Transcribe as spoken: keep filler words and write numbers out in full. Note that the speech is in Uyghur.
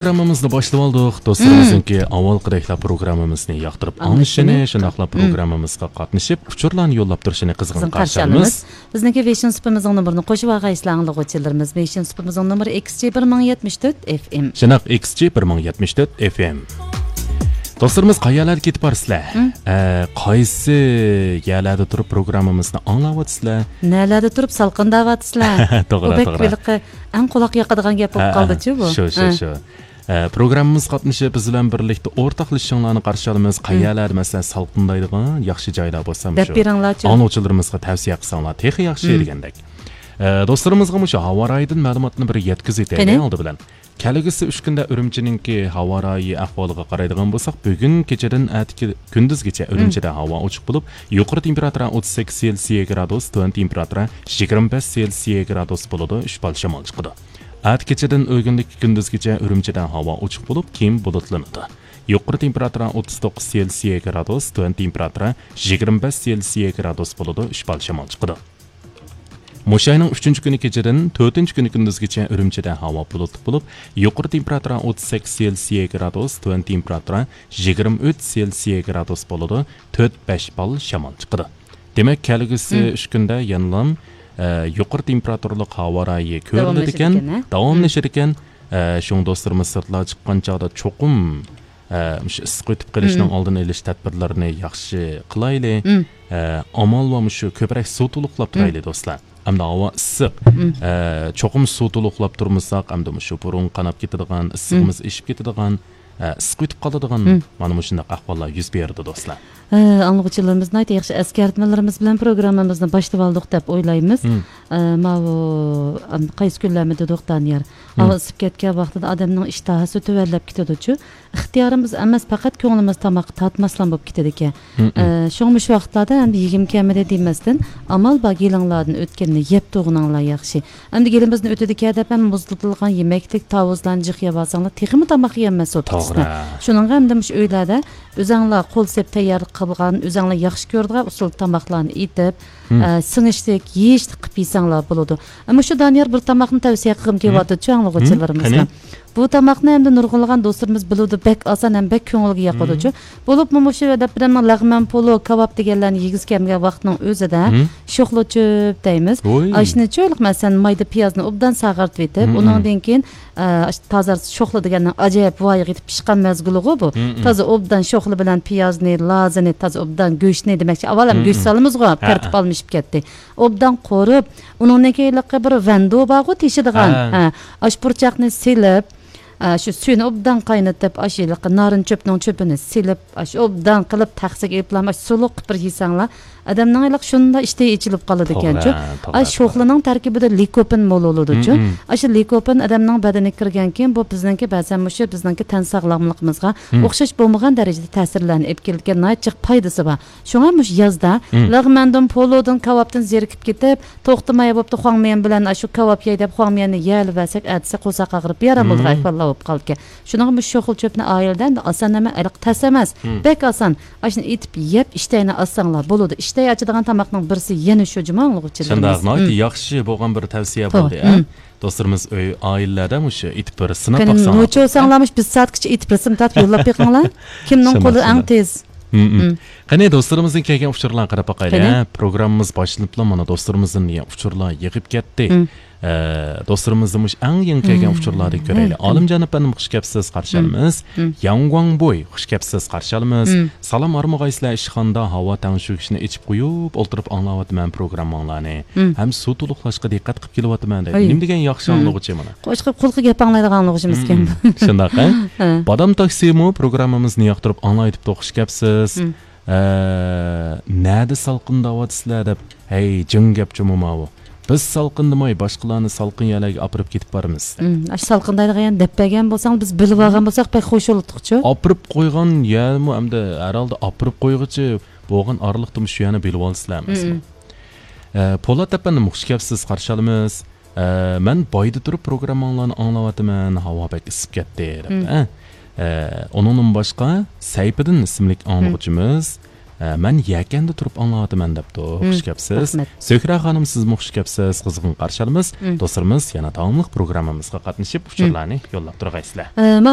پروگراممىمىزنى باشلىۋالدۇق. دوستلىرىمىزنىڭكى ئاۋۋالقىدەكلا پروگراممىمىزنى ياقتۇرۇپ ئاڭلىشىنى، ئاڭلىشىنى، شۇنداقلا پروگراممىمىزغا قاتنىشىپ، ئۇچۇرلارنى يوللاپ تۇرۇشىنى قىزغىن قىزغىن قارشى قارشى ئالىمىز. ئالىمىز. بىزنىڭكى ۋېيشىن سۇپىمىزنىڭ نومۇرىنى قوشۇۋالغايسىلەر ئاڭلىغۇچىلىرىمىز. ۋېيشىن سۇپىمىزنىڭ نومۇرى ئېكس جى بىر مىڭ يەتمىش تۆت ئېف ئېم. شۇنداق، ئېكس جى بىر مىڭ يەتمىش تۆت ئېف ئېم. دوستلىرىمىز، قەيەرلەرگە كېتىپ بارىسىلەر؟ ئە، قايسى يەرلەردە تۇرۇپ پروگراممىمىزنى ئاڭلاۋاتىسىلەر؟ نەلەردە تۇرۇپ سالقىنداۋاتىسىلەر؟ توغرا، بۇ بەك توغرا. ھېلىقى ئەڭ قۇلاق ياقىدىغان گەپ بولۇپ ھە، قالدىچۇ بۇ. شۇ، شۇ، ھە. شۇ. ئە، پروگراممىمىزغا قاتنىشىپ، بىز بىلەن بىرلىكتە ئورتاقلىشىشىڭلارنى قارشى ئالىمىز. قەيەرلەردە، مەسىلەن، سالقىندايدىغان ياخشى جايلار بولسا، دەپ مۇشۇ بېرىڭلارچۇ. ئاڭلىغۇچىلىرىمىزغا تەۋسىيە قىلساڭلار تېخى ياخشى دېگەندەك. ئە، دوستلىرىمىزغا مۇشۇ ھاۋا رايىدىن مەلۇماتنى بىر يەتكۈزۈۋېتەيلى قېنى؟ ئالدى بىلەن. كەلگۈسى ئۈچ كۈندە ئۈرۈمچىنىڭكى ھاۋا رايى ئەھۋالىغا قارايدىغان بولساق، بۈگۈن كېچىدىن ئەتىكى كۈندۈزگىچە ئۈرۈمچىدە ھاۋا ئوچۇق بولۇپ، يۇقىرى تېمپېراتۇرا ئوتتۇز سەككىز سېلسىيە گرادۇس، تۆۋەن تېمپېراتۇرا يىگىرمە بەش سېلسىيە گرادۇس بولىدۇ، ئۈچ بال شامال چىقىدۇ. ئەتە كېچىدىن ئۆگۈنلۈك كۈندۈزگىچە ئۈرۈمچىدە ھاۋا ئوچۇق بولۇپ، كېيىن بۇلۇتلىنىدۇ. يۇقىرى تېمپېراتۇرا ئوتتۇز توققۇز سېلسىيە گرادۇس، تۆۋەن تېمپېراتۇرا يىگىرمە بەش سېلسىيە گرادۇس بولىدۇ، ئۈچ بال شامال چىقىدۇ. مۇشۇ ئاينىڭ ئۈچىنچى كۈنى كېچىدىن تۆتىنچى كۈنى كۈندۈزگىچە ئۈرۈمچىدە ھاۋا بۇلۇتلۇق بولۇپ، يۇقىرى تېمپېراتۇرا ئوتتۇز سەككىز سېلسىيە گرادۇس، تۆۋەن تېمپېراتۇرا يىگىرمە ئۈچ سېلسىيە گرادۇس بولىدۇ، تۆت بەش بال شامال چىقىدۇ. دېمەك، كەلگۈسى مم. ئۈچ كۈندە يەنىلا، ئە، يۇقىرى تېمپېراتۇرىلىق ھاۋا رايى كۆرۈلىدىكەن، داۋاملىشىدىكەن، ھە؟ داۋاملىشىدىكەن. مم. ئە، شۇڭا دوستلىرىمىز سىرتلارغا چىققان چاغدا چوقۇم، ئە، مۇشۇ ئىسسىق ئۆتۈپ قېلىشنىڭ مم. ئالدىنى ئېلىش تەدبىرلىرىنى ياخشى قىلايلى. مم. ئە، ئامال بار مۇشۇ كۆپرەك سۇ تولۇقلاپ مم. تۇرايلى، دوستلار. ئەمدى ھاۋا ئىسسىق. مم. ئە، چوقۇم سۇ تولۇقلاپ تۇرمىساق، ئەمدى مۇشۇ بۇرۇن قاناپ كېتىدىغان، مم. ئىسسىقىمىز ئېشىپ كېتىدىغان، ئە، ئىسسىق ئۆتۈپ قالىدىغان، مم. مانا مۇشۇنداق ئەھۋاللار يۈز بېرىدۇ، دوستلار. ئە، ئاڭلىغۇچىلىرىمىز ناھايىتى ياخشى ئەسكەرتمىلىرىمىز بىلەن پروگراممىمىزنى باشلىۋالدۇق دەپ ئويلايمىز. مم. ئە، ماۋۇ، ئەم، قايسى كۈنلەرمۇ دېدۇق، دانىيار؟ مم. ھاۋا ئىسسىپ كەتكەن ۋاقتىدا ئادەمنىڭ ئىشتىھاسى تۆۋەنلەپ كېتىدۇچۇ. ئىختىيارىمىز ئەمەس، پەقەت كۆڭلىمىز تاماققا تارتماسلام بولۇپ كېتىدىكەن. مم، مم. ئە، شۇڭا مۇشۇ ۋاقىتلاردا ئەمدى يېگۈم كەلمىدى دېمەستىن، ئامال بار گېلىڭلاردىن ئۆتكەننى يەپ تۇرغىنىڭلار ياخشى. ئەمدى گېلىمىزدىن ئۆتىدىكەن دەپ ھەم مۇزلىتىلغان يېمەكلىك، تاۋۇزلارنى جىق يەۋالساڭلار، تېخىمۇ تاماق يېيەلمەس بولۇپ كېتىسىلەر. توغرا. شۇنىڭغا ئەمدى مۇشۇ ئۆيلەردە ئۆزەڭلار قول سېلىپ تەييار قىلغان، ئۆزەڭلار ياخشى كۆرىدىغان ئۇسۇلدا تاماقلارنى ئېتىپ، مم. ئە، سىڭىشلىك، يېيىشلىك قىلىپ يېسەڭلار بولىدۇ. ئە، مۇشۇ دانىيار بىر تاماقنى تەۋسىيە قىلغۇم كېلىۋاتىدۇ، مم. ئاڭلىغۇچىلىرىمىزغا. قېنى؟ بۇ تاماقنى ئەمدى نۇرغۇنلىغان دوستلىرىمىز بىلىدۇ، بەك ئاسان ھەم بەك كۆڭۈلگە ياقىدۇچۇ. مم. بولۇپمۇ مۇشۇ دەپ بىرەمنىڭ لەغمەن پولۇ، كاۋاپ دېگەنلەرنى يېگۈسى كەلمىگەن ۋاقىتنىڭ ئۆزىدە مم. شوخلا چۆپ دەيمىز. ۋوي. ئاشۇنى چۆلۈق، مەسىلەن، مايدا پىيازنى ئوبدان ساغارتىۋېتىپ، مم. ئۇنىڭدىن كېيىن، ئە، ئاشۇ تازا شوخلا دېگەننىڭ ئاجايىپ ۋايىغا يېتىپ پىشقان مەزگىلىغۇ بۇ. مم. تازا ئوبدان شوخلا بىلەن پىيازنى، لازىنى، تازا ئوبدان گۆشنى دېمەكچى. ئاۋۋال ھەم مم. گۆش سالىمىزغۇ، ھە، تەرتىپ ھە. ئالمىشىپ كەتتى. ئوبدان قورۇپ، ئۇنىڭدىن كېيىن بىر ۋەندو بارغۇ تېشىدىغان. ھە. ھە، ئاشۇ پۇرچاقنى سېلىپ، ئاشۇ سۈيىنى ئوبدان قاينىتىپ، ئاشۇ ھېلىقى نارىن چۆپنىڭ چۆپىنى سېلىپ، ئاشۇ ئوبدان قىلىپ، تەخسىگە ئېلىپلا، ئاشۇ سۇلۇق قىلىپ بىر يېسەڭلار، ئادەمنىڭ ھېلىقى شۇنداق ئىشتىھى ئېچىلىپ قالىدىكەنچۇ. توغرا، توغرا، ئاشۇ توغرا. شوخلىنىڭ تەركىبىدە لىكوپىن مول بولىدۇچۇ. مم، مم. ئاشۇ لىكوپىن ئادەمنىڭ بەدىنىگە كىرگەنكېيىن، بۇ بىزنىڭكى بەزەن مۇشۇ بىزنىڭكى تەن ساغلاملىقىمىزغا مم. ئوخشاش بولمىغان دەرىجىدە تەسىرلەرنى ئېلىپ كېلىدىكەن، ناھايىتى جىق پايدىسى بار. شۇڭا مۇشۇ يازدا مم. لەغمەندىن، پولۇدىن، كاۋاپتىن زېرىكىپ كېتىپ، توختىماي بوپتۇ، خۇاڭمىيەن بىلەن ئاشۇ كاۋاپ يەي دەپ خۇاڭمىيەننى يەۋەرسەك، ئەتىسى قورساق ئاغرىپ بىئارام بولىدىغان مم. ئەھۋاللار بولۇپ قالىدىكەن. شۇنىڭغا مۇشۇ شوخلا چۆپنى ئائىلىدە ئەمدى ئاسان نېمە، ھېلىقى تەس ئەمەس. مم. بەك ئاسان. ئاشۇنى ئېتىپ يەپ، ئىشتەينى ئاچساڭلار بولىدۇ. ئىشتەي ئاچىدىغان تاماقنىڭ بىرسى يەنە شۇ جۇما، ئاڭلىغۇچىلىرىمىز. شۇنداق، ناھايىتى مم. ياخشى بولغان بىر تەۋسىيە توغرا. بولدى، ھە؟ مم. دوستلىرىمىز ئۆي، ئائىلىلەردە مۇشۇ ئېتىپ بىر سىناپ قېنى، باقساڭلار نوچى بولسا. بولساڭلار مۇشۇ بىر سائەتكىچە ئېتىپ رەسىم تارتىپ يوللاپ بېقىڭلار. كىمنىڭ شۇنداق، قولى ئەڭ شۇنداق. تېز؟ مم، مم. مم. قېنى، دوستلىرىمىزدىن كەلگەن ئۇچۇرلارغا قاراپ باقايلى، قېنى. ھە؟ پروگراممىمىز باشلىنىپلا مانا دوستلىرىمىزدىن دېگەن ئۇچۇرلار يېغىپ كەتتى. مم. ئە، دوستلىرىمىزدىن مۇشۇ ئەڭ يېڭى كەلگەن مم. ئۇچۇرلاردىن كۆرەيلى. مم. ئالىمجان ئەپەندىم، خۇش كەپسىز، قارشى مم. ئالىمىز. مم. ياڭگۇاڭبوي، خۇش كەپسىز، قارشى ئالىمىز. مم. سالام، ئارمىغايسىلەر ئىشخانىدا ھاۋا تەڭشىگۈچنى ئېچىپ قويۇپ ئولتۇرۇپ ئاڭلاۋاتىمەن پروگرامماڭلارنى. مم. ھەم سۇ تولۇقلاشقا دىققەت قىلىپ كېلىۋاتىمەن دەيدۇ. ئاي. نېمە دېگەن ياخشى مم. ئاڭلىغۇچى مانا. قوشقا قۇلىقى گەپ ئاڭلايدىغان ئاڭلىغۇچىمىزكەن. مم، مم. شۇنداق، ھە؟ ھە. بادام تاكسىمۇ پروگراممىمىزنى ياقتۇرۇپ ئاڭلايتتۇق، خۇش كەپسىز. مم. ئە، نەدە سالقىنداۋاتىسىلەر دەپ. ھەي، جىڭ گەپ جۇمۇ ماۋۇ. بىز سالقىندىماي، باشقىلارنى سالقىن يەرلەرگە ئاپىرىپ كېتىپ بارىمىز. مم، ئاشۇ سالقىندايدىغان يەرنى دەپ بەرگەن بولساڭ، بىز بىلىۋالغان بولساق بەك خۇش بولاتتۇقچۇ. ئاپىرىپ قويغان يەرمۇ ئەمدى ھەرھالدا ئاپىرىپ قويغۇچى بولغان ئارىلىقتا مۇشۇ يەرنى بىلىۋالىسىلەر ئەمەسمۇ؟ مم. ئە، پولات ئەپەندىم، خۇش كەپسىز، قارشى ئالىمىز. ئە، مەن بايدا تۇرۇپ پروگرامماڭلارنى ئاڭلاۋاتىمەن، ھاۋا بەك ئىسسىپ كەتتى، دەپتۇ. مم. ئە، ئە، ئۇنىڭدىن باشقا سەيپىدىن ئىسىملىك مم. ئاڭلىغۇچىمىز، ئە، مەن يەكەندە تۇرۇپ ئاڭلاۋاتىمەن دەپتۇ. مم، خۇش كەپسىز. رەھمەت. سۆھرا خانىم، سىزمۇ خۇش كەپسىز. قىزغىن قارشى ئالىمىز. مم. دوستلىرىمىز يەنە داۋاملىق پروگراممىمىزغا قاتنىشىپ، مم، ئۇچۇرلارنى يوللاپ تۇرغايسىلەر. ئە، ماڭا